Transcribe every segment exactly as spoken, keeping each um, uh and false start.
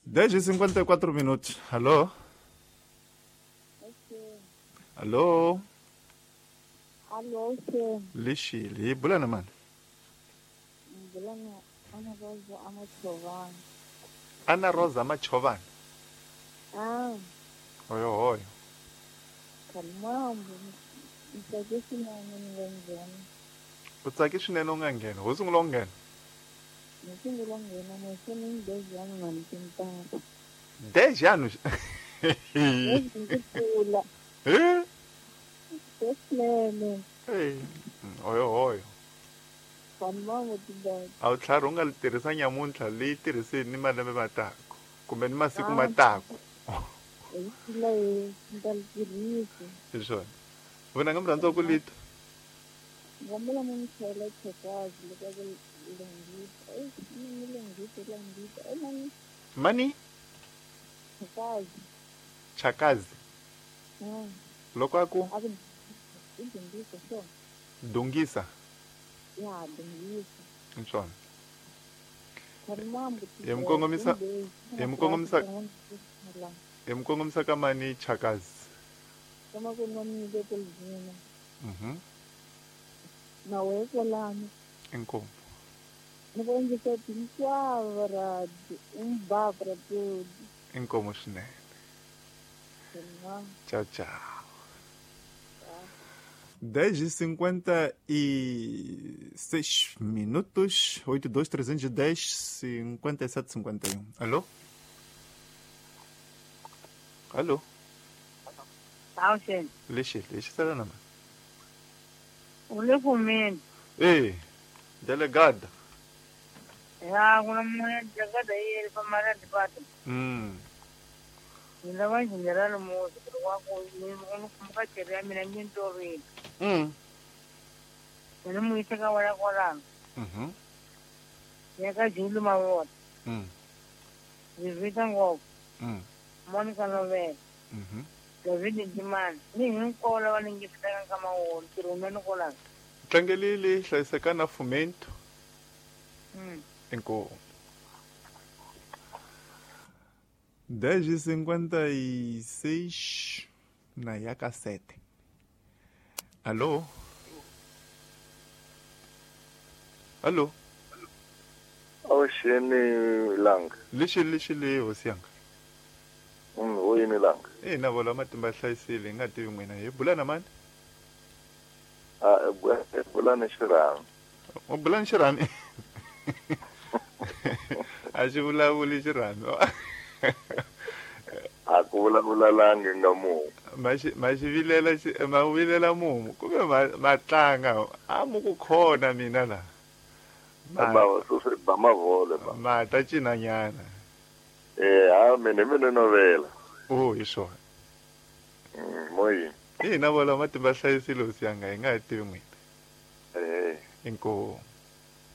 dez e cinquenta e quatro minutos. Alô? Alô? Alô, sim. Lixile, bulana mano. Bulana Ana Rosa Amachovana. Ana Rosa Amachovana. Ah. Oi, oi. Kalmambo. Ntsake swinene ni nga nghena. U tsake swinene u nga nghena. Ho sungula u nghena. Ni sungula nghena mo se ni dez anos na mtintata. dez anos? Ndzi Eh? Swinene. Eh. Oi, oi. Kalmambo tindlela. A wu tlhari u nga li tirhisa nyamuntlha leyi tirhiseni ni malembe matako kumbe ni masiku matako. Hi leyi ndzi li tirhisa. Hi swona. Vona nga murhandza ku lita. Ngomela mi chela chekazi loko ku lungisa. Eh, mi lungisa lungisa. Eh mani. Mani? Chakazi. Chakazi. Mm. Loko aku Aku dungisa so. Dungisa. Ya, dungisa. Hi swona. Kalmambo. Hi mukongomisa hi mukongomisa hi mukongomisa ka mani Chakazi. Kama ku nomile kulivina. Mhm. Na wehe kwalano. Inkomu. Ni ku endlisa tinkwava radio umbabra tudo. Inkomu swinene. Tchau, tchau. dez e cinquenta e seis minutos, oito dois trezentos e dez, cinquenta e sete cinquenta e um. Alô? Alô? Awuxeni. Lexi, lexi sala na mani. U le kumeni. Eh, delegada. Ya, ku na munhu delegada yi ri famara department. Mm. Ni lava general muzi ku wa ku ni ni kumka chere ya mina ni ntorini. Mm. Ni mu yisa ka wala kwalano. Mhm. Ya ka Julu Mavota. Mm. Ni vita ngopfu. Mm. Monica Novela. Mhm. David Ndimani. Ni hinkwavo lava ni ngisaka ka mawolo tirhumeni kwalano. Tlangelile hlayiseka na fomento. Mm. Inkomu. dez e cinquenta e seis na Iaca sete. Alô? Alô? Awuxeni langa. Lexi lexi le hosi yanga. Mm, o yini langa? Eh, na vola matimba hlayisile nga tivi n'wina hi bula na mani? Ah, bula ni xirhami. U bula ni xirhami? A xi vulavuli xirhami. A ku vulavula langi nga mumu. Ma xi ma xi vilela xi ma vilela mumu kumbe ma ma tlanga a mu ku khona mina la. Ma ba swi ba mavole ba. Ma ta cinanyana. Eh, a mina mina novela. Oh, hi swona. Mm, moyi. Eh, na vola matimba hlayisile hosi yanga hi nga ha tivi n'wina. Eh. Inkomu.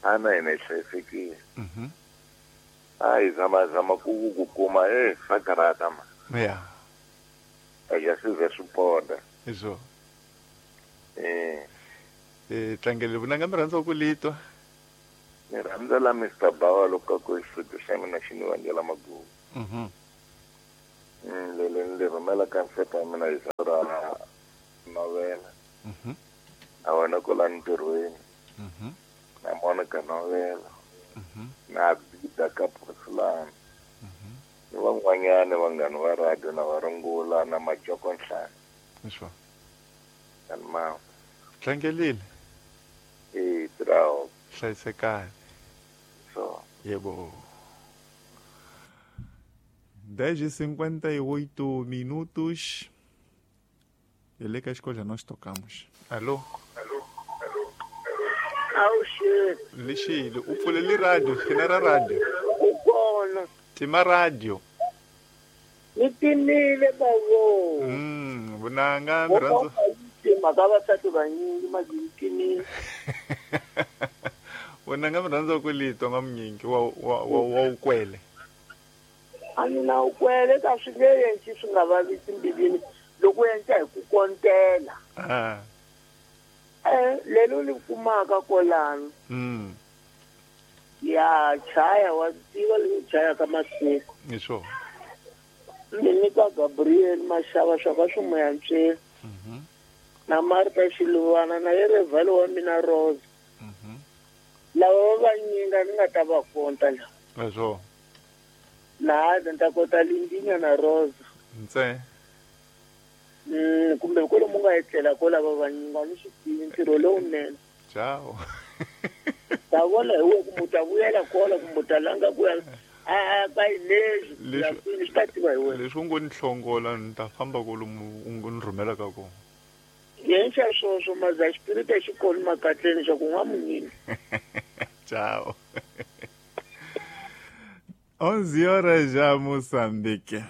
Ana hina hi hlayisekile. Mhm. Ai zama zama ku ku kuma eh swa karata ma. Ya. A ya swi ze swi ponda. Hi swona. Eh. Eh, tlangele vunanga mi rhandza ku litwa. Ni rhandza la Mister Bawa loko ku xifito xa mina xi ni vangela magugu. Mhm. Mm, le le le rhumela ka nsati wa mina hi ra novela. Mhm. A wena kwala ntirhweni. Mhm. Na Monica Novela. Mhm. Na Bida ka Porcelana. Mhm. Ni van'wanyana vanghana va radio na va rungula na Majoko Nhlana. Hi swona. Kanma. Tlangelile. Eh, trawo. Hlayisekani. So. Yebo. dez e cinquenta e oito minutos. Ele que a escolha nós tocamos. Alô? Alô? Alô? Awuxeni. Lexile, u pfulele radio, xina ra radio. U kona. Tima radio. Ni timile bavo. Mm, vunanga mi rhandza. Mhaka vasati vanyingi mazintimile. Vunanga mi rhandza ku litwa nga munyingi wa wa wa wa ukwele. A ni na ukwele ka swi nge endli swi nga vavisi mbilwini loko u endla hi ku kontela. Ah. Eh, lelo li kumaka kwalano. Mm. Ya chaya wa tiva leyi chaya ka masiku. Hi swona. Ni nyika Gabriel Mashava swa ka swi moyantsweni. Mhm. Na Marta Xiluvana na Yerevhalo wa mina Rose. Mhm. Lava va vanyinga ni nga ta va konta la. Hi swona. Laha ni ta kota Lindinya na Rose. Ntse. Mm, kumbe kwalomu nga etlela ko lava vanyinga ni swi tivi ntirho lowunene. Ciao. Ta vona hi wehe kumbe u ta vuyela kola kumbe u ta langa ku ya a ka leswi Leswi- swi ta tiva hi wena. Leswi u ngo ni hlongola ni ta famba kwalomu u ngo ni rhumelaka kona. Yenxa swoswo maza xipiriti xi kona makatleni xa ku n'wa munyini. Tchau. onze horas já, Moçambique.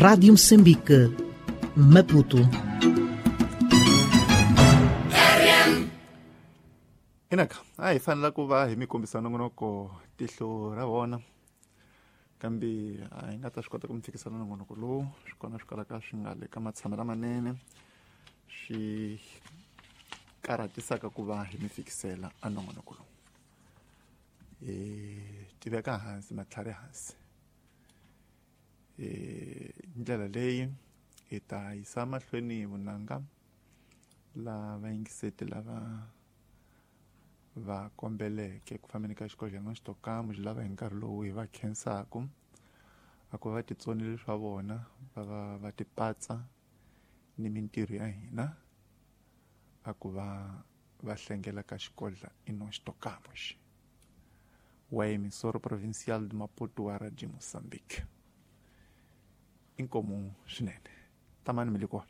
Rádio Moçambique, Maputo. Inaka, a hi fanele ku va hi mi kombisa nongonoko tihlo ra vona. Kambe a hi nga ta swi kota ku mi fikisa nongonoko lowu, swi kona swi kalaka swi nga le ka matshamo lamanene, swi karhatisaka ku va hi mi fikisela a nongonoko lowu. Hi tiveka hansi matlhari hansi. Eh, ndlela leyi hi ta yisa mahlweni vunanga la vayingiseti lava va kombeleke ku fambeni ka xikodlhana xitokamu xi lava hi nkarhi lowu hi va khensaku a ku va titsonile swa vona va va va tipatsa ni mintirho ya hina a ku va va hlengela ka xikodla ino xitokamu xi wa emissora provincial de Maputo wa Radio Moçambique. Inkomu swinene tamani mi le kona.